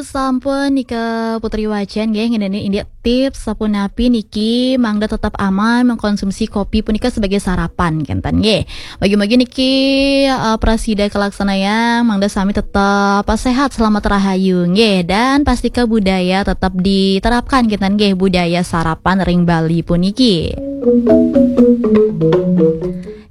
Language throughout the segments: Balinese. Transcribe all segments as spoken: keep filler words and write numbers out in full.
Sampun nika Putri Wacan nggih ngeneni indik tips sapunapi niki mangda tetap aman mengkonsumsi kopi punika sebagai sarapan kenten nggih. Bagi-bagi niki eh, prasida kalaksanayang mangda sami tetap sehat selamat rahayu nggih dan pastika budaya tetap diterapkan kenten nggih budaya sarapan ring Bali puniki.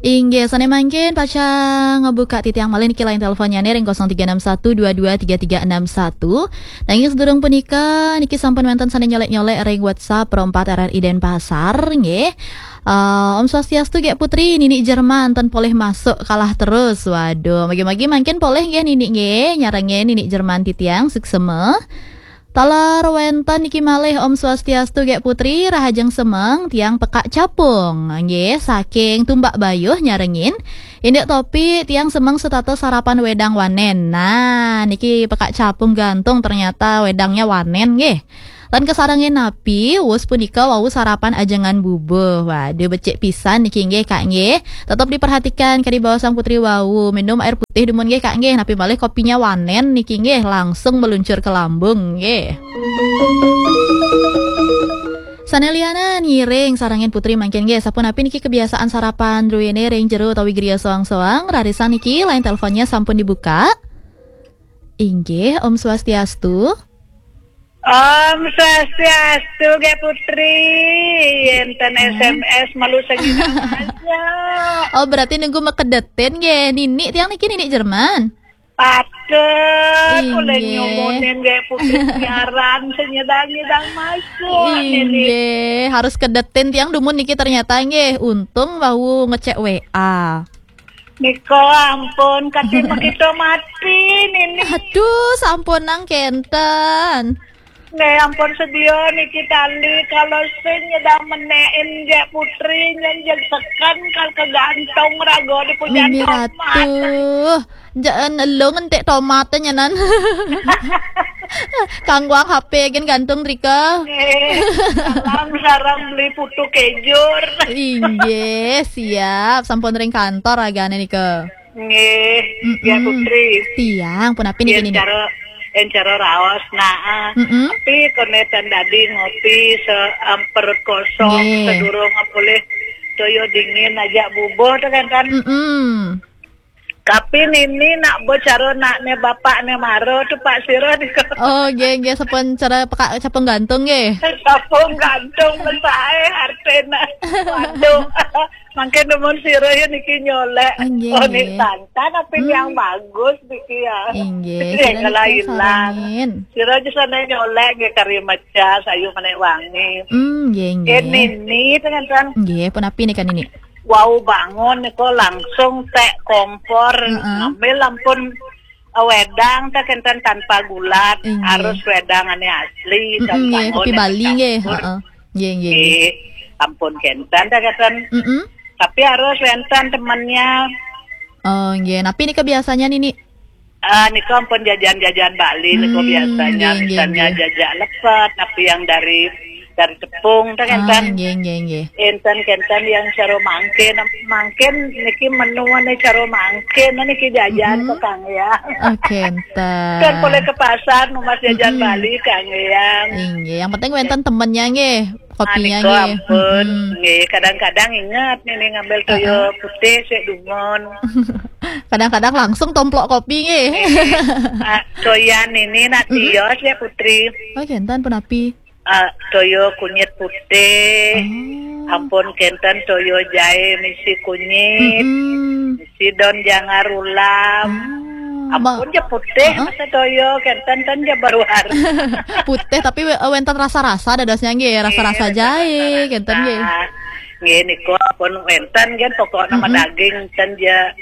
Inggih, sane mangkin pacang ngebuka titiang malih niki line teleponnya ring kosong tiga enam satu dua dua tiga tiga enam satu. Nanging sedurung punika niki sampun wenten sane nyolek-nyolek ring WhatsApp Pro empat R R I Denpasar nggih. Eh, Om Swastiastu Gek Putri, Nini Jerman ten polih masuk kalah terus. Waduh, magi-magi mangkin polih nggih Nini nggih, nyarengin Nini Jerman titiang suksema. Taler wenten niki malih Om Swastiastu Gek Putri, rahajeng semeng, tiang pekak capung. Nggih, saking Tumbak Bayuh nyarengin. Indik topi tiang semeng setata sarapan wedang wanen. Nah, niki pekak capung gantung ternyata wedangnya wanen nggih. Lan kasarengin napi, wus punika wau sarapan ajengan bubuh. Waduh, becik pisan niki nggih Kak nggih. Tetap diperhatikan kadi baosang Putri wau, minum air putih dumun nggih Kak nggih. Napi malih kopinya wanen niki nggih langsung meluncur ke lambung nggih. Sane lianan ngiring sarengin Putri mangkin nggih. Sapunapi niki kebiasaan sarapan druene ring jero utawi griya soang-soang? Rarisan niki line teleponnya sampun dibuka. Inggih, Om Swastiastu. Om Swastiastu, Gek Putri. Enten S M S malu sengina aja. Oh, berarti nunggu mekedetin nggih. Nini tiang niki Nini Jerman. Patut oleh nyumunin Gek Putri siaran senyedang-nyedang masuk Nini. Inggih, harus kedetin tiang dumun niki ternyata nggih. Untung wau ngecek W A. Nika ampun, kati makita mati Nini. Aduh, sampunang kenten. Nggih ampun sedia niki tali kalau sing nyedang menekin Gek Putri nyen jeg seken kal kegantung raga di pujan Mimi tomat. Ratu. Jaan elung entek tomat nyenan. Kangguang H P gen gantung drika. Nggih. Salam sareng beli putu kejur. Inggih, siap. Sampun ring kantor agane nika. Nggih, ya Putri. Tiang punapi niki niki? Cara en cara raos nah. Mm-mm. Tapi kone tan dadi ngopi se um, perut kosong sedurung mulih toyo dingin aja bubuh tu kan kan. Mm-mm. Tapi nini nak bo cara nak ne bapak ne maro tu Pak Siro ni. Oh, nggih nggih sampun cara pekak capung gantung nggih. Capung gantung besai hartena. Waduh. Mangkin demen sira ya niki nyolek. Inggih, oh, nik nggih. Tantan apa yang bagus niki ya. Inggih, sira niki ilang-ilang. Sarengin. Sira aja sana nyolek nggih kari mecas, ayu menek wangi. Hmm, nggih, nggih. Ini ni dengan tuan. Nggih, punapi nika nini? Wau bangun niko langsung tek kompor, ngambil ampun wedang tak enten tanpa gulat, harus wedang ane asli, mm-mm, nggih, kopi Bali nggih, heeh. Nggih, nggih. Nggih, ampun kenten tak enten. Mm-mm. Tapi harus wenten temennya. Oh, nggih. Napi nika biasanya nini? Ah, nika ampun jajan-jajan Bali nika biasanya, nggih, misalnya nggih. Jajak lepet, napi yang dari dari tepung, tak enten. Ah, nggih, nggih, nggih. Enten kenten yang cara mangkin, mangkin niki menu ane cara mangkin niki jajan kok Kang ya. Oh, kenten. Kan boleh ke pasar numbas jajan Bali Kang ya. Inggih, yang penting wenten temennya nggih, kopinya nggih. Ampun, nggih kadang-kadang ingat nini ngambil toyo putih sik dumun. Kadang-kadang langsung tomplok kopi nggih. Ah, toyan nini nak tios ya Putri. Oh, kenten punapi? Ah, toyo kunyit putih. Oh. Ampun kenten toyo jahe misi kunyit. Mm-mm. Misi daun jangar ulam. Ah, ampun ja putih masa toyo kenten ten ja baruar. Putih tapi we- wenten rasa-rasa dadosnya nggih, rasa-rasa jahe kenten nggih. Nggih niku ampun wenten nggih pokoknya daging ten ja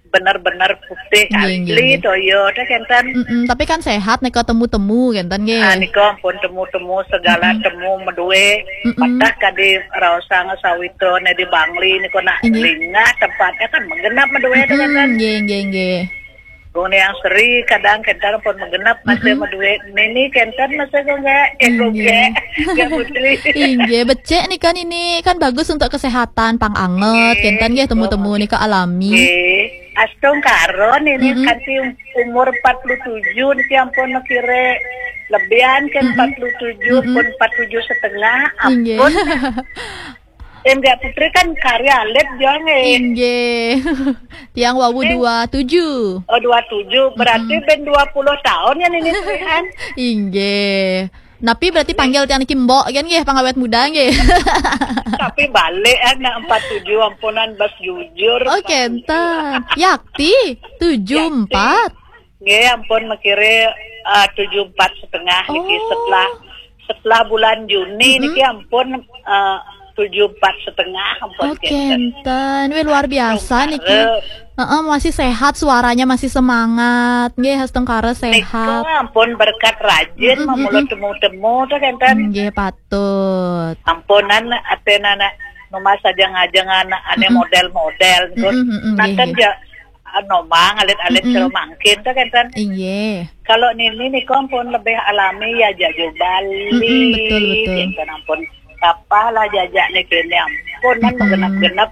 bener-bener putih asli toyo teh kenten. Mm-mm, tapi kan sehat nika temu-temu kenten nggih. Ah, nika ampun temu-temu segala temu medue. Mm-mm. Patah kadi raosang sawitra ne di Bangli nika nak lingah tempatnya kan menggenap medue teh kenten. Mm-mm, nggih, nggih, nggih. Gong yang seri kadang kenten pun menggenap masih medue. Nini kenten masih gong gak? Eh, gong gak? Gak Putri. Inggih, becik nika nini kan bagus untuk kesehatan, pang anget, kenten nggih temu-temu nika alami. Nggih. Astungkara niki, mm-mm, kanti umur empat puluh tujuh niki ampun makire lebihan kan, mm-mm, empat puluh tujuh, mm-mm, pun empat tujuh setengah, inggih, ampun. Enggak Putri kan karya alit dia nggih. Inggih. Tiang wau dua tujuh. Oh, dua tujuh. Berarti, mm-mm, ben dua puluh tahun ya niki, Tri, kan? Inggih. Napi berarti panggil tiang niki mbok kan nggih, pangawet muda nggih. Tapi balik anak empat tujuh, ampunan bas jujur. Oh, empat tujuh. Kenten. Yakti, tujuh empat. Yakti. Nggih, ampun makire, eh, tujuh empat setengah niki. Oh. Setelah, setelah bulan Juni, mm-mm, niki ampun, eh, tujuh empat setengah ampun. Oh, kenten. Kenten. Wih, luar biasa niki. Heeh, masih sehat, suaranya masih semangat. Nggih, astungkara sehat. Nika ampun berkat rajin, mm-mm, mamula, mm-mm, temu-temu to kenten. Nggih, patut. Ampunan aten anak rumah sajeng-ajeng anak ane, mm-mm, model-model niku. Mm-mm, mm-mm, nggih, nggih. Naten ja, ah, nomang alit-alit, mm-mm, cara mangkin to kenten. Inggih. Kalau nini niku ampun lebih alami ya, jajah Bali. Mm-mm, betul, betul. Kenten ampun. Kapalah jajane kene ampun, kan, mm-mm, menggenep-genep,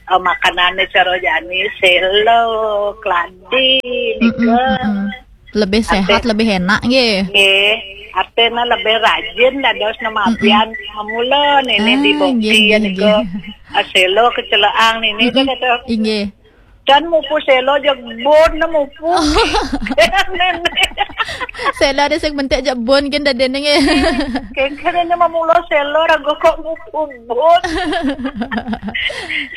eh, makanane cara jani, selo, kladi, mm-mm, nika. Mm-mm. Lebih sehat, ate, lebih enak nggih. Nggih. Atena lebih rajin dados nemabian, mm-mm, mamula nini, ah, di bukti nggih, ya nggih, nika. Nggih. Ah, selo kecelaang nini, mm-mm, kata. Inggih. Dan mupu selo jebon mupu. Oh. Selo ada sing mentik jebon kan dadene nggih. Kengkene mamula selo raga kok mupu bon.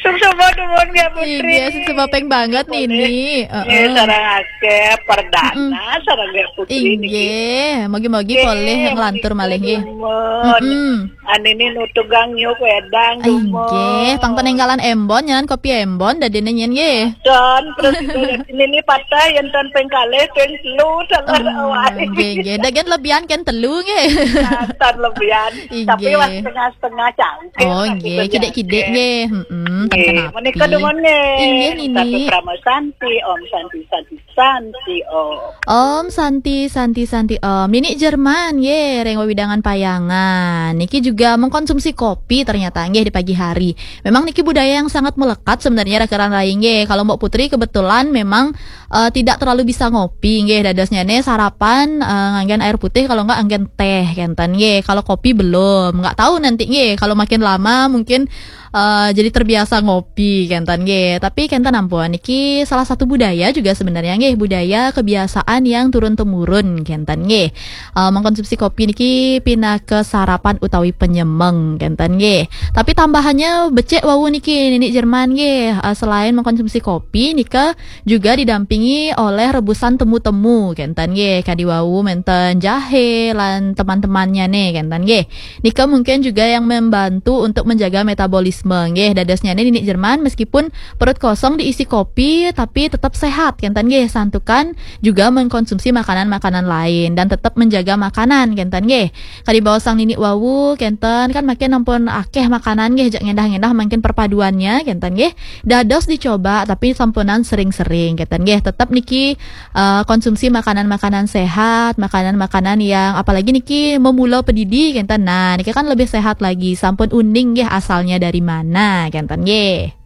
Suksma dumun nggih Putri. Inggih, suksma ping banget niki. Nggih, heeh, sareng akeh perdana, mm-mm, sareng nggih Putri niki. Inggih, mugi-mugi polih nglantur malih nggih. Dumun. Mm-mm. Anini nutugang nyuk wedang, dumun. Inggih, pang peninggalan embon, nyan kopi embon dadine nyen nggih. Don, terus nini patah yen ton ping kalih, ping telu, taler awai. Nggih, nggih. Dagen lebihan kan telu nggih. Nah, ton lebihan. Inggih. Tapi wah setengah-setengah cangkir. Oh, nggih, kidik-kidik nggih. Heeh, nggih, menika dumun nggih. Inggih, nini. Satu Krama Santi, Om Santi, Santi, Santi, Om. Om Santi, Santi, Santi, Om. Nini Jerman, ye, ring wewidangan Payangan. Niki juga mengkonsumsi kopi ternyata, nggih, di pagi hari. Memang niki budaya yang sangat melekat sebenarnya, Rekan Rai, nggih. Kalau Mbok Putri kebetulan memang, eh, tidak terlalu bisa ngopi, nggih. Dadosnya ne sarapan, eh, nganggen air putih, kalau enggak nganggen teh, kenten, nggih. Kalau kopi belum, nggak tahu nanti, nggih. Kalau makin lama mungkin eh, jadi terbiasa ngopi, kenten nggih. Tapi kenten ampun, niki salah satu budaya juga sebenarnya nggih, budaya kebiasaan yang turun temurun, kenten nggih. Eh, mengkonsumsi kopi niki pinaka sarapan utawi penyemeng, kenten nggih. Tapi tambahannya becik wau niki, nini Jerman nggih. Eh, selain mengkonsumsi kopi, nika juga didampingi oleh rebusan temu-temu, kenten nggih. Kadi wau menten jahe lan teman-temannya ne, kenten nggih. Nika mungkin juga yang membantu untuk menjaga metabolisme, nggih. Dadosnya ne nini Jerman meskipun perut kosong diisi kopi, tapi tetap sehat, kenten nggih. Santukan juga mengkonsumsi makanan-makanan lain dan tetap menjaga makanan, kenten nggih. Kadi baosang nini wau, kenten kan makin ampun akeh makanan nggih, jak ngendah-ngendah makin perpaduannya, kenten nggih. Dados dicoba, tapi sampunan sering-sering, kenten nggih. Tetap niki, eh, konsumsi makanan-makanan sehat, makanan-makanan yang apalagi niki memula pedidi, kenten. Nah, niki kan lebih sehat lagi, sampun uning nggih asalnya dari mana, kenten nggih.